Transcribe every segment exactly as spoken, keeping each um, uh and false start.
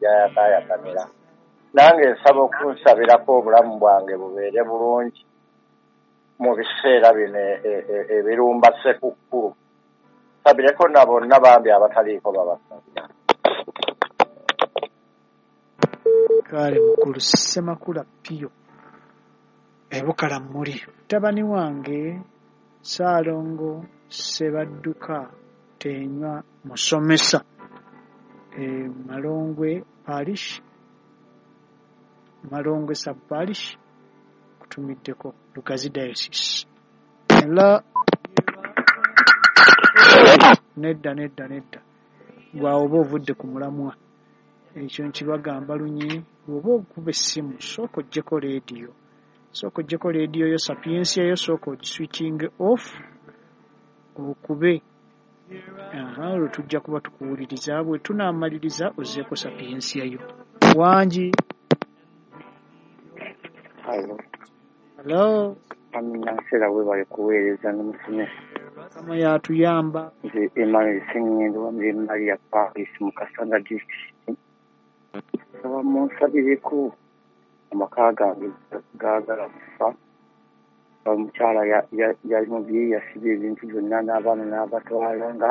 gyayakaayakanira. Nange nsaba okunsabirako obulamu bwange bubeere bulungi mu biseera bino ebirumba Ssekukkulu. Nsabireko na bonna bambi abataliiko babasabira. Kale mukulu Ssemakula Pio ebukala mmuli. Mutabani wange Ssaalongo Ssebadduka Tenywa musomesa e Malongwe Parish, Malongwe Sub Parish, kutumiddeko Lugazi Diocese. Ela nedda nedda nedda, gwawo oba ovudde ku mulamwa. Ekyo nkibagamba lunye, bw'oba okuba essimu sooka oggyeko leediyo, sooka oggyeko leediyo yo Sapiensia yo, sooka ogiswitchinge off okube. Aha, olwo tujja kuba tukuwuliriza. Bwe tunaamaliriza ozzeeko Sapiensia yo. Wangi. Hello. Hello. Amina nsera webale kuweereza n'omusomesa. Mukama yatuyamba. Nze Emmanuel Sengendo wa Mary Maria Parish mu Kasanga District. Nsaba munsabireko amaka gange gaagala kufa. Omukyala yali mubye yasibye ebintu byonna n'abaana n'abatwala nga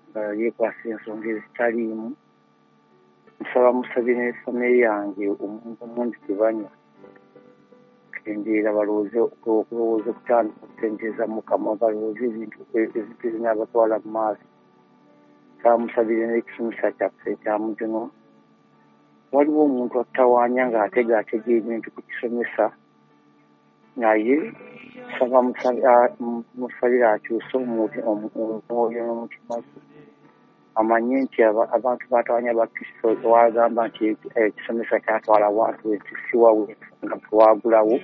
nga yeekwasa ensonga ezitaliimu. Nsaba musabire ne famire yange omuntu omuntu tebanywa. Kendeera balowooze okulowooza okutandika okutendereza Mukama, balowooze ebintu ebintu ebinaabatwala mu maaso. Nsaba musabire n'ekisomesa kyaffe ekya Mujono. Waliwo omuntu atawaanya ng'ategaatega ebintu ku kisomesa, naye nsaba musabire akyuse omwoyo n'omutima gwe, amanye nti abantu batawaanya Bakristo wagamba nti ekisomesa kyatwala wantu ensi si wawe nga twagulawo,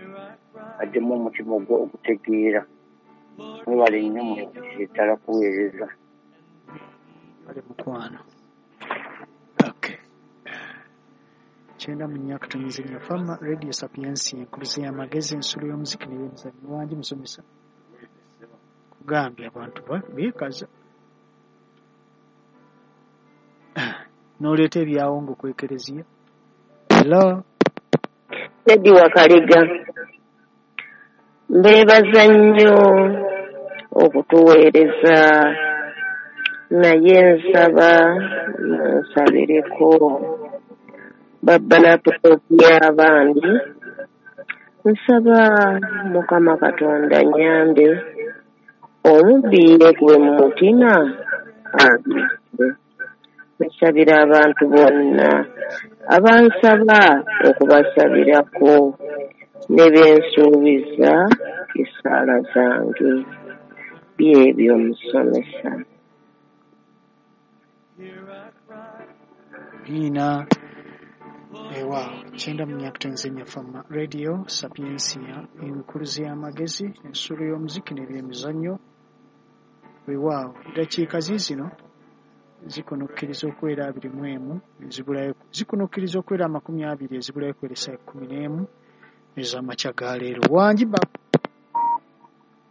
addemu omutima ogutegeera. Mwebale nnyo mwebale ddala kuweereza. Kale mukwano. Okay. Kyenda mu nnya akatonyeza ennyo Fama Radio Sapiensia, enkuluze y'amagezi, ensulo y'omuziki n'ebyemizannyo. Wangi musomesa. Kugambye abantu beekaza. N'oleeta ebyawongo ku Ekereziya. Hello. Teddy Wakaliga, mbeebaza nnyo okutuweereza, naye nsaba munsabireko babba laptop y'abandi. Nsaba Mukama Katonda nnyambe omubbi yeekuwe mu mutima agende. Nsabira abantu bonna abansaba okubasabirako ne bensuubiza essaala zange. Byebyo musomesa. Amiina. Ewa kyenda mu nnya akatonyeza ennyo Fama Radio Sapiensia, enkuluze y'amagezi, ensulo y'omuziki n'ebyemizannyo. Weewaawo eddakiika ziizino zikunukkiriza okuwera abiri mu emu ezibulayo, zikunukkiriza okuwera amakumi abiri ezibulayo okuwera ekkumi n'emu ez'amakya ga leero. Wangi ba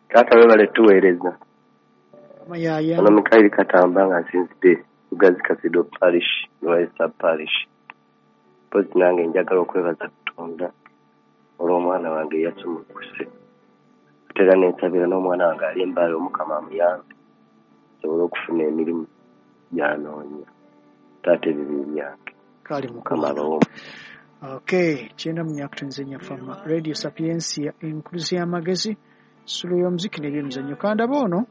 Taata webale tuweereza. Mayaya. Ono Mikaeli Katamba nga nsinzidde Lugazi Cathedral Parish, Lwaisa Parish. Mpozi nange njagala okwebaza Katonda olw'omwana wange eyasumulukuse. Ate era nensabira n'omwana wange ali embaale Omukama amuyambe asobole okufuna emirimu gy'anoonya. Taata ebibi byange. Kale Mukama mukwano. abawe. Okay, kyenda mu nnya akatonyeza ennyo Fama Radio Sapiensia, enkuluze y'amagezi, ensulo y'omuziki n'ebyemizannyo. Kandaba ono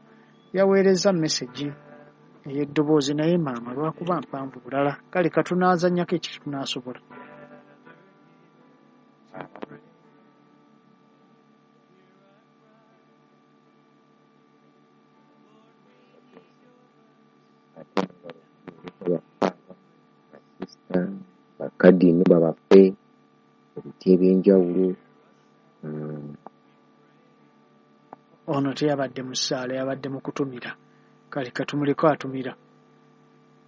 yaweereza message ey'eddoboozi naye maama lwakuba mpanvu bulala. Kale katunaazannyako ekyo tunaasobola. Bakadini babaffe ebiti ebyenjawulo. Ono teyabadde mu ssaala, yabadde mu kutumira. Kale katumuleko atumira.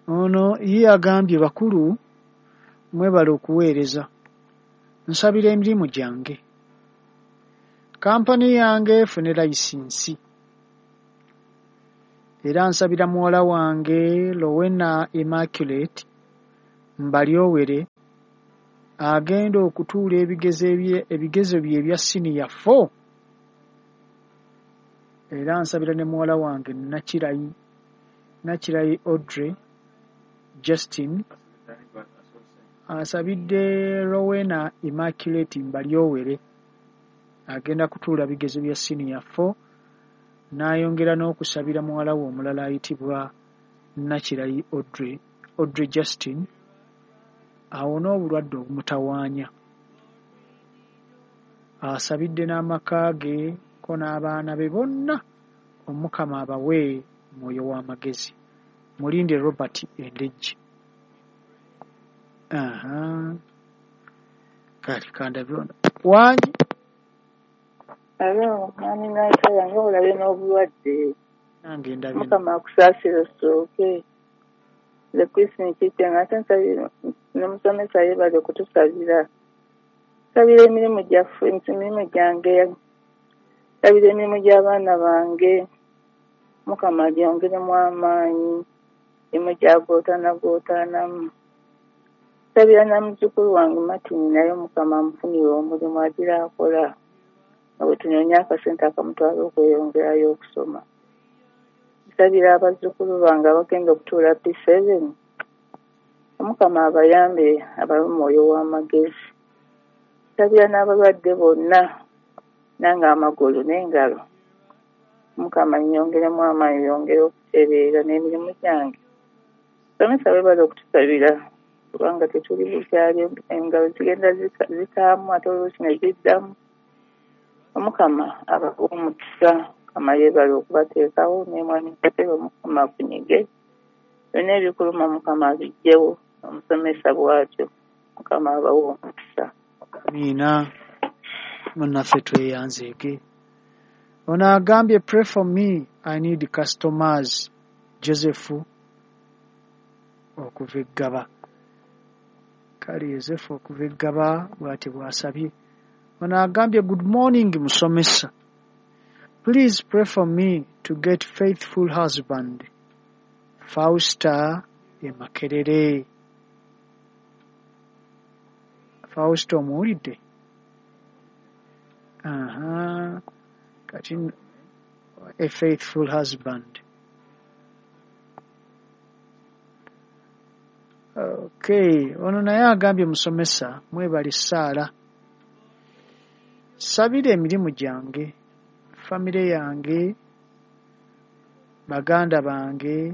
Ono ye agambye bakulu mwebale okuweereza. Nsabira emirimu gyange. Kampani yange efune layisinsi. Era nsabira muwala wange Lowena Immaculate Mbalyowere agenda okutuula ebigezo ebigezo bye ebya siniya four. Era nsabira ne muwala wange Nakirayi Nakirayi Audrey Justin. Asabidde Rowena Immaculate Mbalyowere agenda kutuula bigezo bya siniya four, n'ayongera n'okusabira muwala we omulala ayitibwa Nakirayi Audrey Audrey Justin awone obulwadde obumutawaanya. Asabidde n'amaka ge ko n'abaana be bonna Omukama abawe mwoyo w'amagezi. Mulinde Robert Endejje. Aha. Kale kandabe ono. Wangi? Alo, mwami Nansala, nga olabye n'obulwadde. Nange ndabye. Mukama akusaasire osooke. Nze Christine Kitenge, ate nsabira n'omusomesa yeebale okutusabira. Nsabira emirimu gyaffe, emirimu gyange, nsabira emirimu gy'abaana bange. Mukama agyongeremu amaanyi, emirimu gyagootaanagootaanamu. Nsabira na muzzukulu wange Martin naye Mukama amufunire omulimu agira akola. Nga bwe tunoonya akasente akamutwala okweyongerayo okusoma. Nsabira abazzukulu bange abagenda okutuula P seven. Omukama abayambe abawe omwoyo w'amagezi. Nsabira n'abalwadde bonna nange amagulu n'engalo. Mukama nnyongeremu amaanyi yongere okutereera n'emirimu gyange. Somesa weebale okutusabira kubanga tetuli bukyali, engalo zigenda zikaamu ate oluusi ne ziddamu. Omukama abawe omukisa, Mukama yeebale okubateekawo ne mwami Katebe Omukama akunyige. Byonna ebikuluma Mukama abiggyewo, omusomesa bw'atyo. Mukama abawe omukisa. Amiina. Munnaffe tweyanzeege. Ono agambye pray for me, I need customers. Joseph okuva e Ggaba. Kale Joseph okuva e Ggaba bw'ati bw'asabye. Ono agambye good morning musomesa. Please pray for me to get faithful husband. Fausta e Makerere. Fausta omuwulidde? Aha. Kati a faithful husband. Okay, ono naye agambye musomesa mwebale ssaala. Sabira emirimu gyange, famire yange, baganda bange,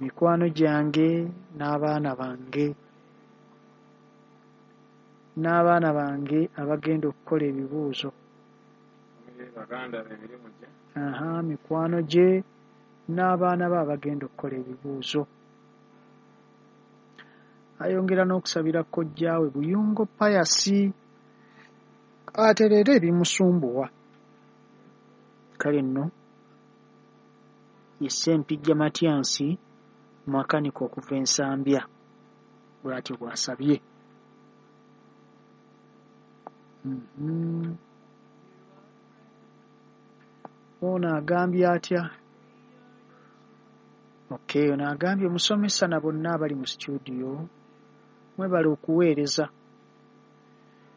mikwano gyange n'abaana bange. N'abaana bange abagenda okukola ebibuuzo. Aha, mikwano gye n'abaana be abagenda okukola ebibuuzo. Ayongera n'okusabira kojjaawe Buyungo Pius atereere ebimusumbuwa. Kale nno ye Ssempijja Matyansi makanika okuva e Nsambya bw'atyo bw'asabye. Mm-hmm. Ono agambye atya? Okay, ono agambye musomesa na bonna abali mu studio mwebale okuweereza.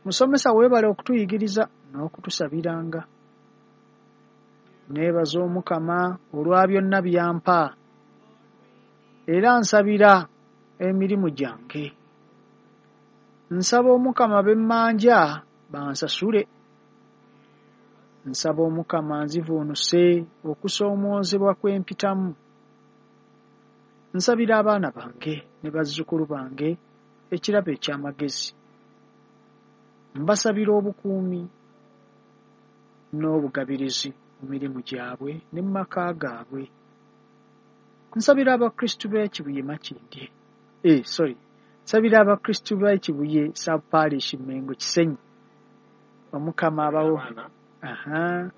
Musomesa weebale okutuyigiriza n'okutusabiranga. Neebaza Omukama olwa byonna byampa. Era nsabira emirimu gyange. Nsaba Omukama bemmanja bansasule. Nsaba Omukama nzivuunuse okusoomoozebwa kwe mpitamu. Nsabira abaana bange ne bazzukulu bange ekirabo eky'amagezi. Mbasabira obukuumi n'obugabirizi mu mirimu gyabwe ne mu maka gaabwe. Nsabira Abakristu b'e Kibuye Makindye. Eh, sorry. Nsabira Abakristu b'e Kibuye Sub Parish Mengo Kisenyi. Omukama abawo. Aha.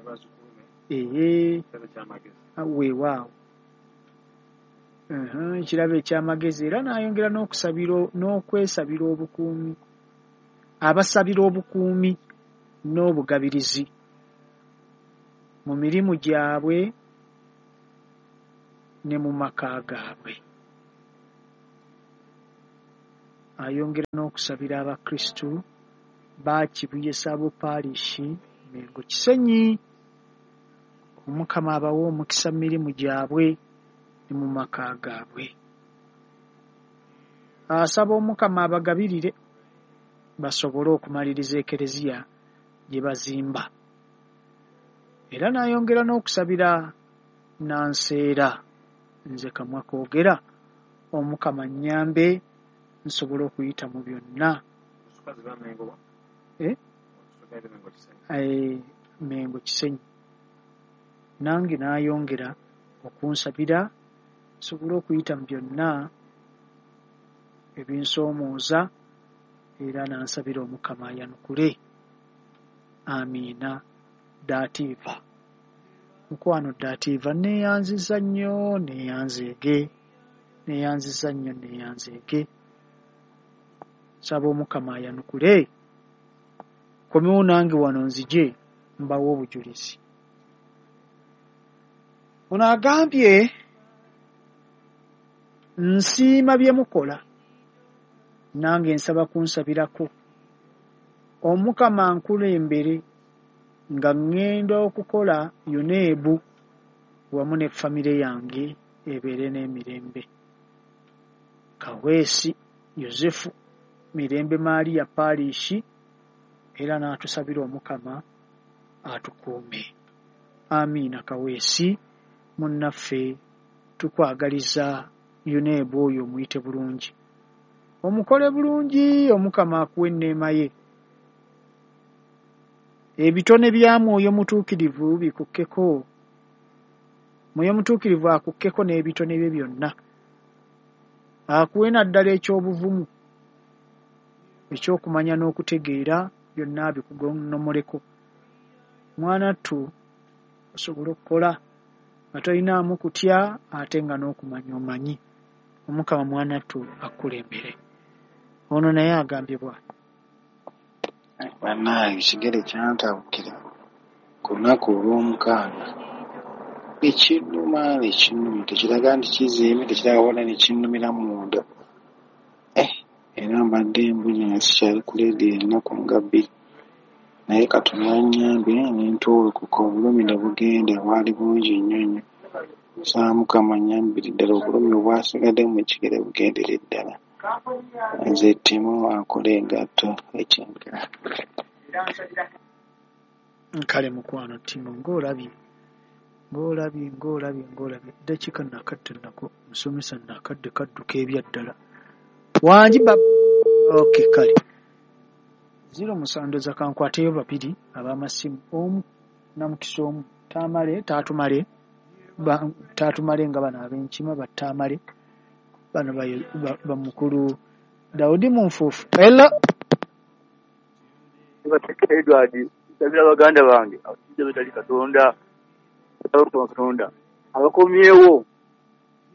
Ee. Weewaawo. Aha, ekirabo eky'amagezi era n'ayongera n'okusabira n'okwesabira obukuumi. Abasabira obukuumi n'obugabirizi mu mirimu gyabwe ne mu maka gaabwe. Ayongera n'okusabira Abakristu ba Kibuye Sabo Parish Mengo Kisenyi. Omukama abawe omukisa mu mirimu gyabwe ne mu maka gaabwe. Asaba Omukama abagabirire basobole okumaliriza ekereziya gye bazimba. Era n'ayongera n'okusabira Nanseera, nze kamwa koogera, Omukama nnyambe nsobole okuyita mu byonna. Eh? Eh, Mengo Kisenyi. Nange n'ayongera okunsabira nsobole okuyita mu byonna ebinsoomooza, era n'ansabira Omukama ayanukule. Amiina. Daatiiva. Mukwano Daatiiva, neeyanziza nnyo, neeyanzeege, neeyanziza nnyo, neeyanzeege. Nsaba Omukama ayanukule. Komewo nange wano nzije mbawe obujulizi. Ono agambye, nsiima bye mukola, nange nsaba kunsabirako. Omukama ankulembere nga ŋŋenda okukola UNEB wamu ne famire yange ebeere n'emirembe. Kaweesi Yosefu Mirembe Maria Parish, era n'atusabira Omukama atukuume. Amiina. Kaweesi munnaffe, tukwagaliza UNEB oyo omuyite bulungi, omukole bulungi, Omukama akuwe enneema ye. Ebitone bya Mwoyo Mutuukirivu bikukkeko. Mwoyo Mutuukirivu akukkeko n'ebitone bye byonna, akuwe naddala eky'obuvumu, ekyokumanya n'okutegeera, byonna bikugonnomoleko. Mwana ttu osobole okukola nga tolinaamu kutya, ate nga n'okumanya omanyi. Omukama mwana ttu akkulembere. Ono naye agambye bw'ati. Bannange ekigere kyantabukira ku lunaku olw'omukaaga, nekinnuma nekinnuma, tekiraga nti kizimbye, tekiraga wala, nekinnumira munda. Eh, era mbadde mbunye nga sikyali ku leediyo ennaku nga bbiri, naye Katonda yannyambye ne ntuulukuka, obulumi ne bugenda, bwali bungi nnyo nnyo. Nsaba Mukama annyambire ddala obulumi obwasigadde mu kigere bugendere ddala. Nze Timo akola engatto ekyengera. Kale mukwano Timo, ng'olabye, ng'olabye, ng'olabye, ng'olabye. Eddakiika nakadde nako, musomesa nakadde kadduka ebya ddala. Wangi ba okay, kale. Ziro musandoza kankwateyo babiri ab'amasimu, omu namukisa omu taamale taatumale ba, taatumale nga bano ab'enkima battaamale bano bamukulu Daudi Munfuufu. Hello. Edward, nsabira baganda bange abasajja betali Katonda, Katonda abakomyewo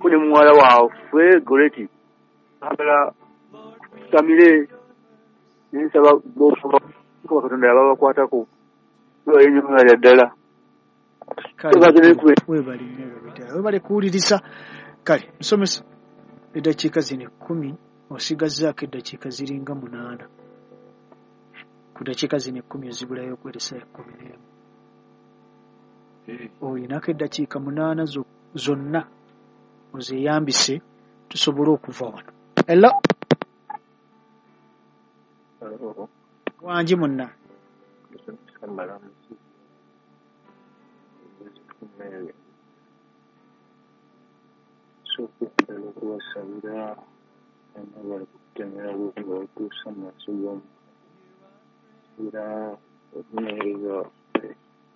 ko ne muwala waffe Goreti agala kusamire, nensaba kuba Katonda yababakwatako enyuma ddala. Webale nnyo ddala, webale kuwuliriza. Kale musomesa, eddakiika zino ekkumi osigazzaako eddakiika ziringa munaana. Ku ddakiika zino ekkumi ozibulayo okuweeresa ekkumi n'emu. Olinako eddakiika munaana zonna ozeeyambise tusobole okuva wano. Hello. Wangi munna. Okubasabira bali kutemera nga batuusa mu maaso g'Omukama, okunoonyereza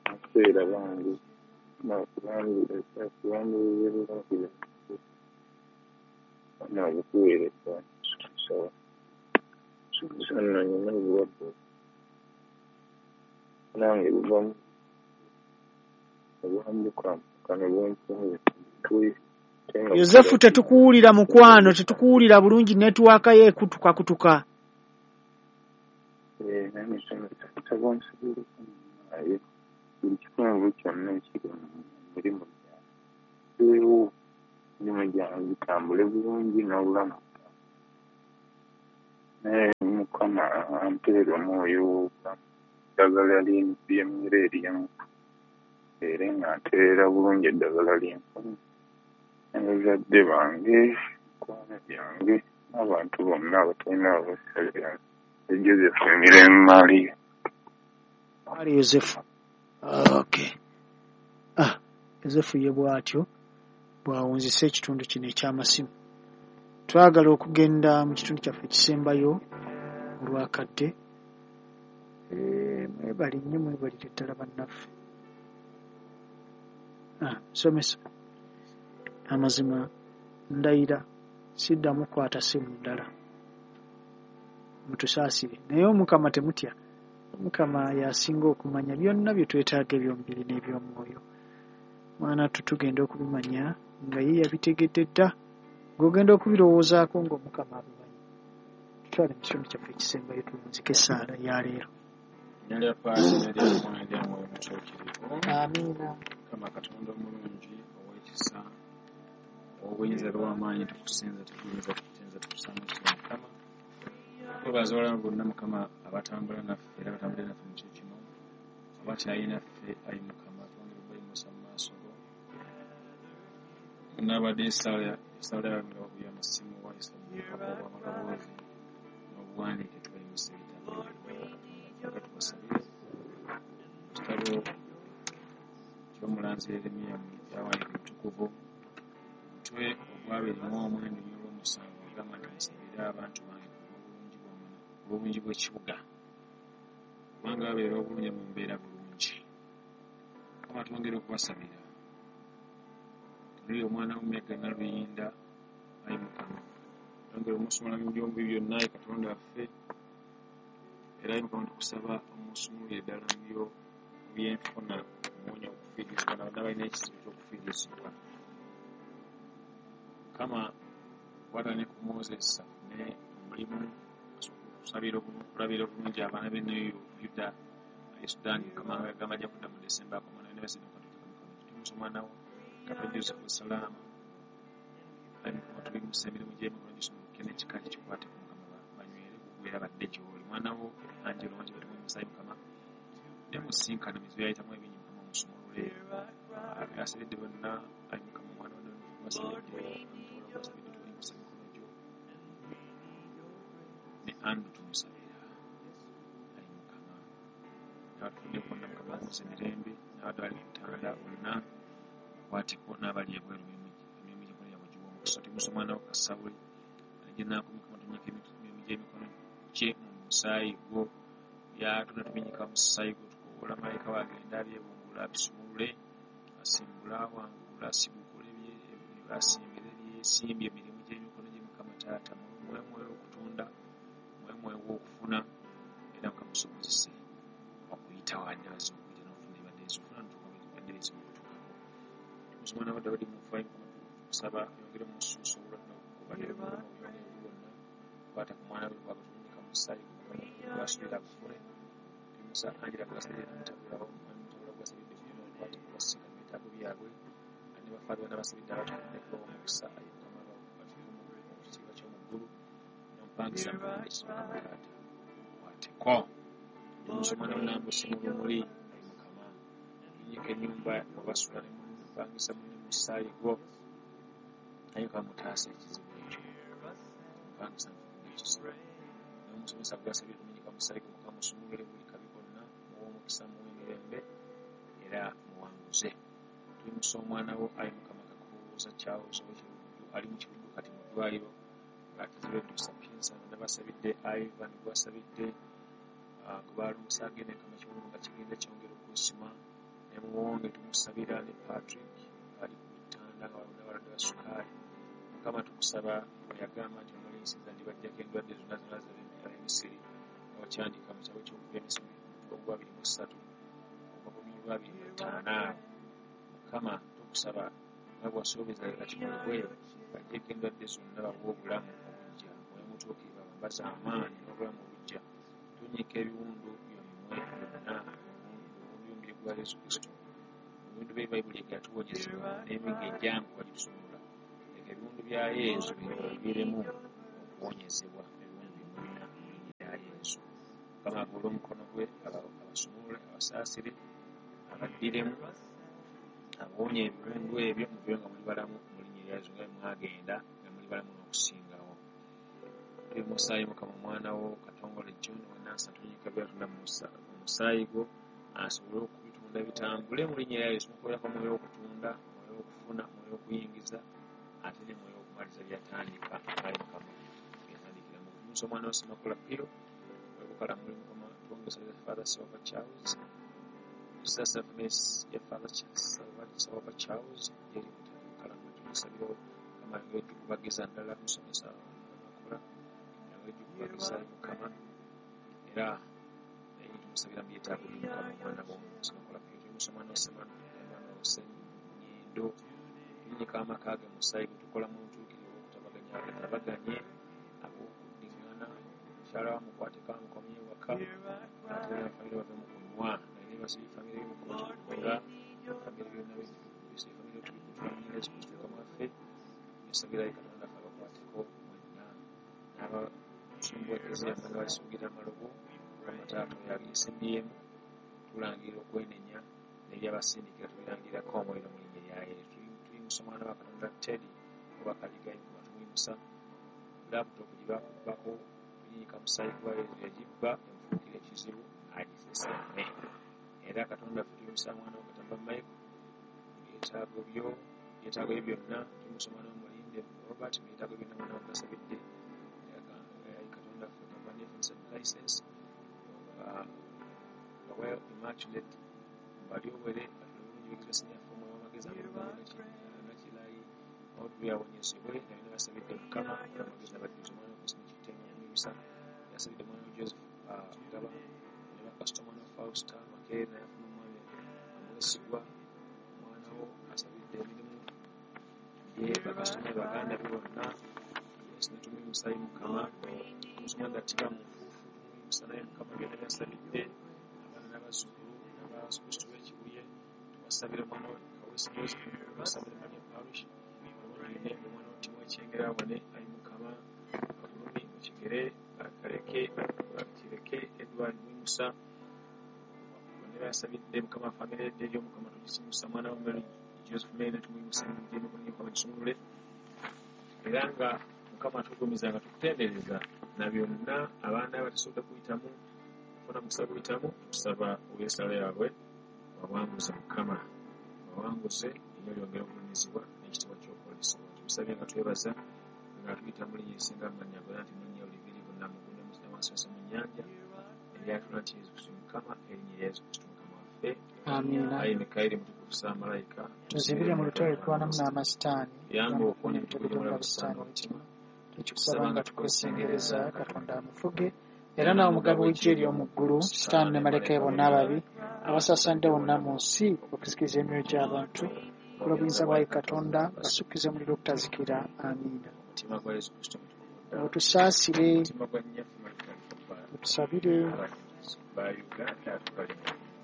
abaseera bange nabukuweereza nsaba nsaba nno nnina obulwadde nange buva obwambuka kano bumpunze Yosefu, tetukuwulira mukwano, tetukuwulira bulungi, netiwaaka ye ekutuka kutuka. Eh, nange nsaba nsabireko naye buli kitundu kyonna ekiri mu mirimu gyange, emirimu gyange gitambule bulungi n'obulamu. Ne Mukama ampeere omwoyo w'obulamu, eddagala ly'emmere eryamu era nga ntereera bulungi eddagala lyenfunye. Ne bazadde bange, mikwano gyange n'abantu bonna abatalina abasabira. Joseph Mirembe Maria. Ali Yosefu. Okay. Ah, Yosefu ye bw'atyo bw'awunzise ekitundu kino eky'amasimu. Twagala okugenda mu kitundu kyaffe ekisembayo olwakadde. Eh, mwebale nnyo, mwebalire ddala bannaffe. Ah, musomesa, amazima ndayira siddamu kukwata simu ndala. Mutusaasire. Naye Omukama temutya. Omukama y'asinga okumanya byonna bye twetaaga eby'omubiri n'eby'omwoyo. Mwana tu tugenda okubimanya nga ye yabitegedde dda, ng'ogenda okubirowoozaako ng'Omukama abimanyi. Tutwale mu kitundu kyaffe ekisembayo tuwunzike essaala ya leero. Erinnya lya Paati n'erya Mwana n'erya Mwoyo Mutuukirivu. Amiina. Mukama Katonda omulungi ow'ekisa, ow'obuyinza era ow'amaanyi, tukusinza, tukuyinza, tukutenza, tukusaamu ekitiibwa Mukama. Twebaza olwabo bonna Mukama abatambula naffe era abatambulira naffe mu kiro kino, abakyali naffe ayi Mukama, twongere okubayimusa mu maaso go. Bonna abadde essaala essaala yaabwe nga bakubye amasimu, wayise mu bubaka obw'amaloboozi n'obuwandiike, tubayimusa ebitabo Katonda. Twagala tubasabire mu kitabo ky'omulanzi Yeremiya mu byawandiikibwa ebitukuvu, omutwe ogw'abiri mu omwenda olw'omusanvu agamba nti musabire abantu bange olw'obulungi bw'ekibuga, kubanga babeera obulungi mu mbeera bulungi. Mukama twongere okubasabira. Tuli omwana wo Mega Naluyinda, ayi Mukama, twongere omusumula mu by'omubi byonna, ayi Katonda waffe, era ayi Mukama tukusaba omusumulire ddala mu byo mu byenfuna, omuwonya okufiirizibwa na bonna balina ekizibu ky'okufiirizibwa. Mukama kwata ne ku Moses afune omulimu okusabira okulabira obulungi abaana be ne Yuda e Sudan. Mukama agamba ajja kudda mu Desemba akomana ne basinde Mukama tumusa omwana wo Kato Joseph Salama. Ayi Mukama tubimusa emirimu gy'emikono gisumuluke n'ekika kikwateko Mukama banywere kugwera badde gy'oli. Omwana wo Angelo wangi batumuyimusa ayi Mukama ne musinkana mizibu yayitamu ebingi Mukama omusumulule. Asabidde bonna ayi Mukama omwana wo gwasabidde omutola gwasabidde tubayimusa emikono gyo ne Andrew tumusabira ayi Mukama n'abatufudde bonna Mukama amuze emirembe n'abadde bali ku bitanda bonna kwateko n'abali ebweru emirimu gy'emikono gyabwe giwe omukisa. Tuyimusa omwana wo Kasawuli gye naakumika tunyika emirimu gy'emikono gye mu musaayi gwo byatuna tubinyika mu musaayi gwo tukoola malayika we agenda abyebungula abisumulule asimbule awangule asigukule asimbire byesimbye emirimu gy'emikono gye Mukama taata muwe mwoyo okutunda muwe mwoyo w'okufuna era Mukama musobozese okuyita wanyaaza okuyita n'okufuna ebibadde ebizifuna n'otuuka ebibadde bizibu okutuukako. Tumusa omwana wa Dawudi mufayi Mukama tukusaba ayongere omusuusa obulwadde obubadde bumuluma obuyongere bwonna kwata ku mwana we bw'agatunyika mu musaayi gwo Mukama gw'asuubira agufune. Tumusa Angela gw'asabidde n'omutabula omutabula gw'asabidde byonna okwate kubasinkana mu byetaago byabwe ne bafaather bonna basabidde abatufudde kubawa omukisa ayi Mukama batuuke mu kitiibwa ky'omu ggulu n'omupangisa mukama ekizibu Mukama taata okwateko. Tumusa omwana wo Nambusi mu lumuli ayi Mukama tunyika ennyumba wabasula ne mupangisa munne mu musaayi gwo ayi Mukama mutaasa ekizibu ekyo mupangisa mufudde ekizibu n'omusomesa gw'asabye tumenyeka mu musaayi gwo Mukama musumulule buli kabi konna muwe omukisa muwe emirembe era muwanguze. Tuyimusa omwana wo ayi Mukama Kakuuza Charles ow'Ekiruddu ali mu Kiruddu kati mu ddwaliro ng'akizibwa eddusa Pinsa bonna basabidde Ivan gw'asabidde gwe baalongosa agenda Mukama ekiwundu nga kigenda kyongera okwesima ne Muwonge tumusabira ne Patrick ali ku bitanda nga bonna balwadde ba sukaali. Mukama tukusaba bwe yagamba nti omuliisiza ndibaggyako endwadde zonna zonna ab'Emisiri nga wakyandika mu kitabo ky'okuva Emisiri ogw'abiri mu ssatu ogwa lwabiri mu ttaano awo. Mukama tukusaba nga bw'asuubiza leka kikolebwe baggyeko endwadde zonna bawe obulamu obuggya Mwoyo Mutuukirivu abambaze amaanyi n'obulamu obuggya. Tunnyika ebiwundu byomwe byonna ebiwundu by'omubiri gwa Yesu Kristo ebiwundu bya Bayibuli yatuwonyezebwa n'emiggo egyanguwa gitusumulula. Leka ebiwundu bya Yesu biviiremu okuwonyezebwa ebiwundu byonna. Mukama agolole omukono gwe abasumulule, abasaasire, abaddiremu, abawonya ebiwundu ebyo, muveeyo nga muli balamu mu linnya erya Yesu, nga mwagenda nga muli balamu n'okusingawo. Tuli musaayi Mukama omwana wo Katongole John Wenansa tunyika byatunda mu musaayi gwo asobole okubitunda bitambule mu linnya erya Yesu. Mukolerako omwoyo w'okutunda, omwoyo w'okufuna, omwoyo w'okuyingiza, ate ne mwoyo w'okumaliza byatandika. Ayi Mukama byatandikira mu musa omwana wo Ssemakula Piro webukala muli Mukama twongeza Father Silver Charles Sasa Miss ya Father Silver Charles yeri mutali tumusabira Mukama yongere tukubagiza ddala musomesa Ssemakula yongere tukubagiza Mukama era naye tumusabira mu byetaago bye Mukama omwana wo Ssemakula Piro tumusa omwana wo Emmanuel Ssenyindo tuyinyika amaka ge musaayi gwe tukola mu ntuukirivu okutabaganya atabaganye ab'okuddiŋŋana mukyala wa mukwateko amukomye waka ate era famire bave mu kunywa naye basibye famire y'Omukama tubikola famire byonna bisibye famire tubikutula mu Yesu Kristo Mukama waffe. Nsabira Katonda ffe abakwateko mwenna n'abasumba Eklezia mwenna balisuugira amalobo Mukama taata oyo ageesimbyemu tulangirira okwenenya n'ebyabasindikira tubirangirako omuliro mu linnya erya Yesu. Tuyimusa omwana wa Katonda Teddy oba Kaliga Mukama tumuyimusa laptop gye bakubbako tuyinyika musaayi gwa Yesu yagibba emufuukira ekizibu agiseseme. Era Katonda ffe tuyimusa mwana wa Katamba Michael byetaago byo byetaago bye byonna tuyimusa omwana wa Mulinde Robert byetaago byonna mwana wa gasabidde Katonda ffe kampani efunisa license well immaculate balyobwere atulungi bigizwe sinyaffe omwoyo w'amagezi nakirayi Audrey awonyezebwe na byonna basabidde Mukama amagezi abajjuza omwana wa Christine Kitenge okumuyimisa yasabidde omwana wa Joseph Gaba ne bakasita omwana wa Fausta Makerere naye afuna omwami amwesigwa omwana wo asabidde emirimu gye bakasitoma be baganda be bonna Yesu ne tumuyimusa Mukama omusoma gattiba mu nfuufu tumuyimusa naye Mukama byonna byasabidde abaana n'abazzukulu n'abakristu b'e Kibuye tubasabira omwana we Kawesi Joseph tubasabira Maria Parish omwana omwana wa Timo Ekyengera awone ayi Mukama akulumi mu kigere akaleke akireke Edward Mwimusa bonna basabidde Mukama famire edde eri Omukama tugisimusa mwana wa Mary Joseph Mary tumuyimusa emirimu gy'emikono Mukama gisumulule era nga Mukama tugumiza nga tukutendereza na byonna abaana abatasobodde kuyitamu kufuna mukisa guyitamu tukusaba olw'essala yaabwe bawanguze Mukama bawanguze erinnya lyongere okugulumizibwa n'ekitiibwa ky'okwolesebwa. Tumusabye nga twebaza nga tuyita mu linnya erisinga amannya gonna nti mu linnya oliviri bonna mu ggulu ne mu wansi wose mu nnyanja eryatula nti Yesu Kristo Mukama erinnya erya Yesu Kristo Mukama waffe. Amiina. Ayi Mikayiri mutukufu Ssaamalayika tuzibire mu lutalo lutwanamu n'amasitaani yamba okuwonya emitego emitego gy'omulabe gy'omulabe sitaani sitaani omutima omutima tukikusaba nga tukwesengereza Katonda amufuge era nawe omugabo w'eggye ery'omu ggulu sitaani ne malayika be bonna ababi abasaasaanidde wonna mu nsi okuzikiriza emyoyo gy'abantu olw'obuyinza bwa Katonda basukkize omuliro ogutazikira. Amiina. Omutima gwa Yesu Kristo mutukuvu ddala Otusaasire, omutima gwa nnyaffe Maria otusabire, ba Uganda atubalimu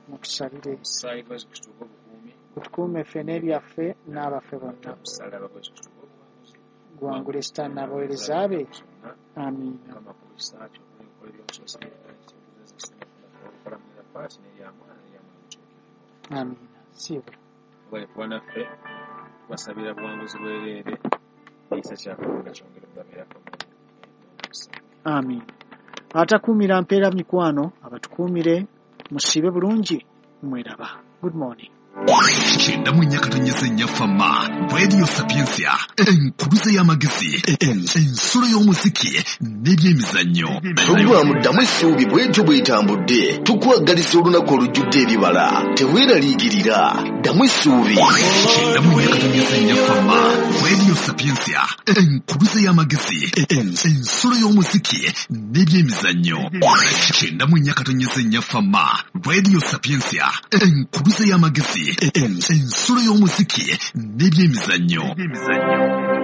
mutusabire, omusaayi gwa Yesu Kristo ogw'obukuumi otukuume ffe n'ebyaffe n'abaffe bonna, omusaalaba gwa Yesu Kristo ogw'obuwanguzi guwangule sitaani n'abaweereza be. zonna Amiina. Mukama ku kisa kyo okukola eby'omusoosira paati n'erya mwana n'erya Mwoyo Mutuukirivu. Amiina. Siibula. Webale kuba naffe tubasabira buwanguzi bwereere ekisa kya Katonda kyongere okubabeerako n'omukisa. Amiina. Atakuumira mpeera mikwano abatukuumire, musiibe bulungi, mweraba. Good morning. Kyenda mu nnya katonyeze nnya Fama Radio Sapientia, enkuluze y'amagezi, ensulo y'omuziki n'ebyemizannyo. Pulogulaamu Ddamu Essuubi bw'etyo bw'etambudde. Tukwagaliza olunaku olujjudde ebibala. Teweeraliikirira. Ddamu Essuubi. Kyenda mu nnya katonyeze nnya Fama Radio Sapientia, enkuluze y'amagezi, ensulo y'omuziki n'ebyemizannyo. Kyenda mu nnya katonyeze nnya Fama Radio Sapientia, enkuluze y'amagezi, ensulo y'omuziki n'ebyemizannyo.